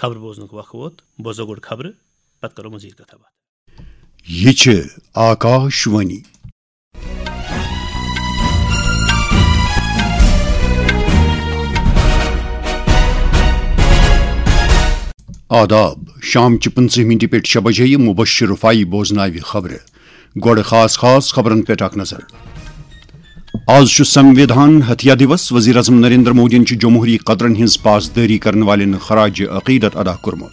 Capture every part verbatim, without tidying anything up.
خبرٕ بوزنُک وق ووت۔ بوزو گۄڈٕ خبرٕ، پتہٕ کرو مزید کتھا باتھ۔ یہِ چھِ آکاش وانی۔ آداب، شام چہِ پٕنٛژٕہ مِنٹہِ پٮ۪ٹھ شےٚ بجے یہِ مُبشِر رفاعی بوزناوِ خبرٕ۔ گۄڈٕ خاص خاص خبرن پٮ۪ٹھ اکھ نظر۔ آز چھُ سموِدھان ہتھیا دیوس۔ وزیر اعظم نریندر مودیَن چھُ جمہوری قدرن ہٕنٛز پاسدٲری کرن والٮ۪ن خراج عقیدت ادا کوٚرمُت۔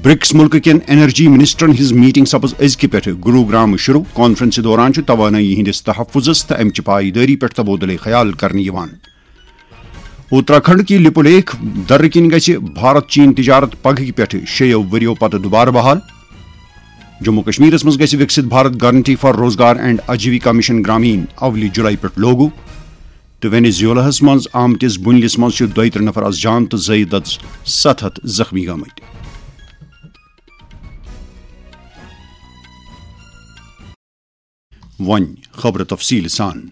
برکس مُلکہٕ کٮ۪ن انرجی منسٹرن ہٕنٛز میٹنگ سپٕز أزکہِ پٮ۪ٹھٕ گروگرام شروع۔ کانفرنسہِ دوران چھُ توانٲیی ہٕنٛدِس تحفظس تہٕ امہِ چہِ پایدٲری پٮ۪ٹھ تبادلے خیال کرنہٕ یِوان۔ اتراکھنڈ کہِ لپولیخ درٕ کِنۍ گژھِ بھارت چین تجارت پگہٕکہِ پٮ۪ٹھٕ شیٚیو ؤرِیو پتہٕ دوبارٕ بحال۔ جموں کشمیرس منٛز گژھِ وکسِت بھارت گارنٹی فار روزگار اینڈ آجیویکا مشن گرامین اولہِ جولائی پٮ۪ٹھ لاگو۔ تہٕ وینیزویلاہس منٛز آمتِس بُنلِس منٛز چھِ دۄیہِ ترٕہ نفر از جان تہٕ زٲیِد از ستھ ہتھ زخمی گٔمٕتۍ۔ وۄنۍ خبرٕ تفصیٖل سان۔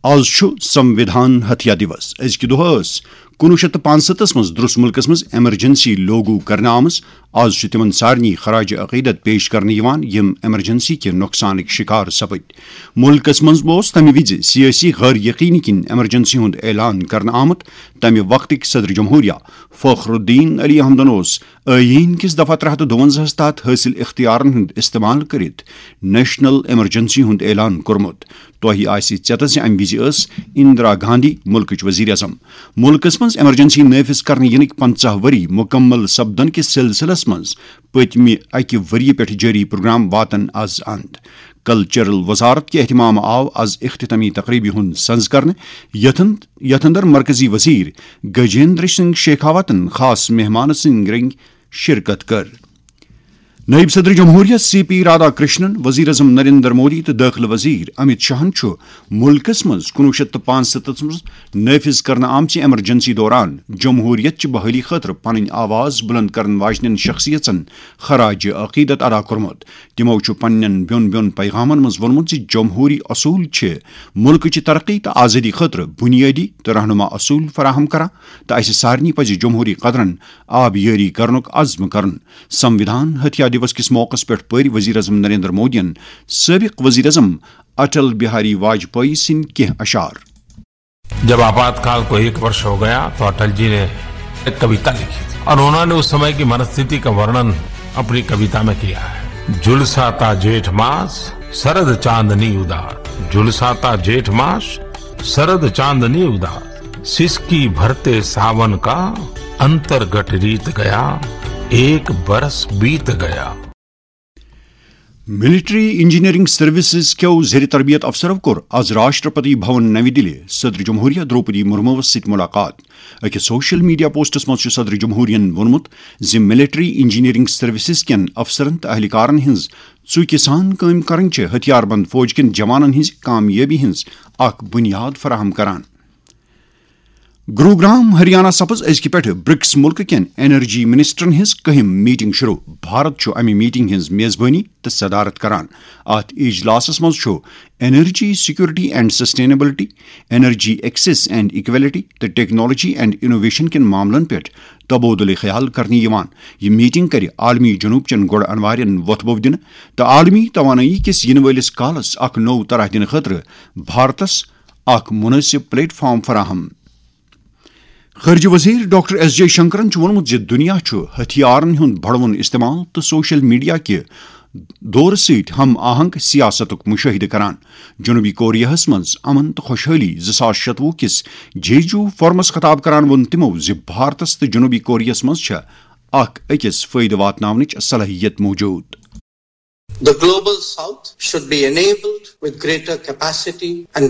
آز چھُ سموِدھان ہتھیا دیوس۔ أزکہِ دۄہ ٲس کُنوُہ شیٚتھ تہٕ پانٛژستتھس منٛز درُس مُلکس منٛز ایمرجنسی لاگو کرنہٕ آمٕژ۔ آز چھُ تِمن سارنٕے خراج عقیدت پیش کرنہٕ یِوان، یِم ایمرجنسی کہِ نۄقصانٕکۍ شِکار سپٕدۍ۔ مُلکس منٛز اوس تَمہِ وِزِ سیٲسی غٲر یقینی کِنۍ ایمرجنسی ہُنٛد اعلان کرنہٕ آمُت۔ تَمہِ وقتٕکۍ صدر جمہوریہ فخر الدین علی احمدن اوس ٲییٖن کِس دفعہ ترٛےٚ ہتھ تہٕ دُوَنزاہس تحت حٲصِل اختیارن ہُنٛد استعمال کٔرِتھ نیشنل ایمرجنسی ہُنٛد اعلان کوٚرمُت۔ تۄہہِ آسہِ ژٮ۪تس زِ امہِ وِزِ ٲس اندرا گاندھی مُلکٕچ وزیر اعظم۔ مُلکس منٛز ایمرجنسی نافذ کرنہٕ یِنٕکۍ پنژاہ ؤری مُکمل سپدن کِس سلسلس منٛز پٔتمہِ اکہِ ؤریہِ پٮ۪ٹھ جٲری پروگرام واتن از اند۔ کلچرل وزارت کہِ اہتمام آو از اختتامی تقریبہِ ہُنٛد سنز کرنہٕ، یتھ اند-، یتھ اندر مرکزی وزیر گجیندر سنگھ شیخاوتن خاص مہمان سٕنٛدۍ رنگۍ شرکت کٔر۔ نائب صدر جمہوریہ سی پی رادھا کرشنن، وزیر اعظم نریندر مودی تہٕ دٲخلہٕ وزیر امت شاہن چھُ مُلکس منٛز کُنوُہ شیٚتھ تہٕ پانٛژستتھس منٛز نافذ کرنہٕ آمژِ ایمرجنسی دوران جمہوریت چہِ بحالی خٲطرٕ پنٕنۍ آواز بلند کرن واجنٮ۪ن شخصیژن خراج عقیدت ادا کوٚرمُت۔ تِمو چھُ پننٮ۪ن بیوٚن بیوٚن پیغامن منٛز ووٚنمُت زِ جمہوری اصوٗل چھِ مُلکٕچہِ ترقی تہٕ آزٲدی خٲطرٕ بُنیٲدی تہٕ رہنما اصوٗل فراہم کران تہٕ اسہِ سارنٕے پزِ جمہوری قدرن آبیٲری کرنُک عزم کرُن۔ سموِدھان ہتھیا دیوس کِس موقعس پٮ۪ٹھ پٔرۍ وزیر اعظم نریندر مودیَن سٲبق وزیر اعظم اٹل بہاری واجپایی سٕنٛدۍ کینٛہہ اشعار۔ जब आपातकाल को एक वर्ष हो गया तो अटल जी ने एक कविता लिखी थी और उन्होंने उस समय की मनस्थिति का वर्णन अपनी कविता में किया है। झुलसाता जेठ मास, शरद चांदनी उदास। झुलसाता जेठ मास, शरद चांदनी उदास। सिसकी भरते सावन का, अंतर्गट रीत गया, एक बरस बीत गया। ملٹری انجینئرنگ سروسز کیو زیر تربیت افسرو کوٚر از راشٹرپتی بھون نَوِ دِلہِ صدر جمہوریہ دروپدی مرموس سۭتۍ ملاقات۔ أکِس سوشل میڈیا پوسٹس منٛز چھُ صدر جمہوریہن ووٚنمُت زِ ملٹری انجینئرنگ سروسز کٮ۪ن افسرن تہٕ اہلکارن ہٕنٛز ژُکہِ سان کٲم کرٕنۍ چھِ ہتھیار بند فوج کٮ۪ن جوانن ہٕنٛزِ کامیٲبی ہٕنٛز اکھ بُنیاد فراہم کران۔ گروگرام ہریانہ سپز أزکہِ پٮ۪ٹھٕ برکس مُلکہٕ کٮ۪ن انرجی منسٹرن ہٕنٛز کٔہِم میٹنگ شروع۔ بھارت چھُ امہِ میٹنگ ہٕنٛز میزبٲنی تہٕ صدارت کران۔ اتھ اجلاسس منٛز چھُ energy security and sustainability, energy access and equality تہٕ ٹیکنالوجی اینڈ انوویشن کٮ۪ن معاملن پٮ۪ٹھ تبادلہ خیال کرنہٕ یِوان۔ یہِ میٹنگ کرِ عالمی جنوب چٮ۪ن گۄڈٕ انوارٮ۪ن وۄتھٕ بوٚو دِنہٕ تہٕ عالمی توانٲیی کِس یِنہٕ وٲلِس کالس اکھ نوٚو طرح دِنہٕ خٲطرٕ بھارتس اکھ مناسب پلیٹ فارم فراہم۔ خارجہ وزیر ڈاکٹر ایس جے شنکرن چھُ ووٚنمُت زِ دُنیا چھُ ہتھیارن ہُنٛد بڑوُن استعمال تہٕ سوشل میڈیا کہِ دورٕ سۭتۍ ہم آہنگ سیاستُک مشاہدٕ کران۔ جنوبی کوریاہس منٛز امن تہٕ خۄشحٲلی زٕ ساس شتوُہ کِس جیجو فورمس خطاب کران ووٚن تِمو زِ بھارتس تہٕ جنوبی کوریاہس منٛز چھےٚ اکھ أکِس فٲیدٕ واتناونٕچ صلٲحیت موجود۔ The global south should be enabled with greater capacity and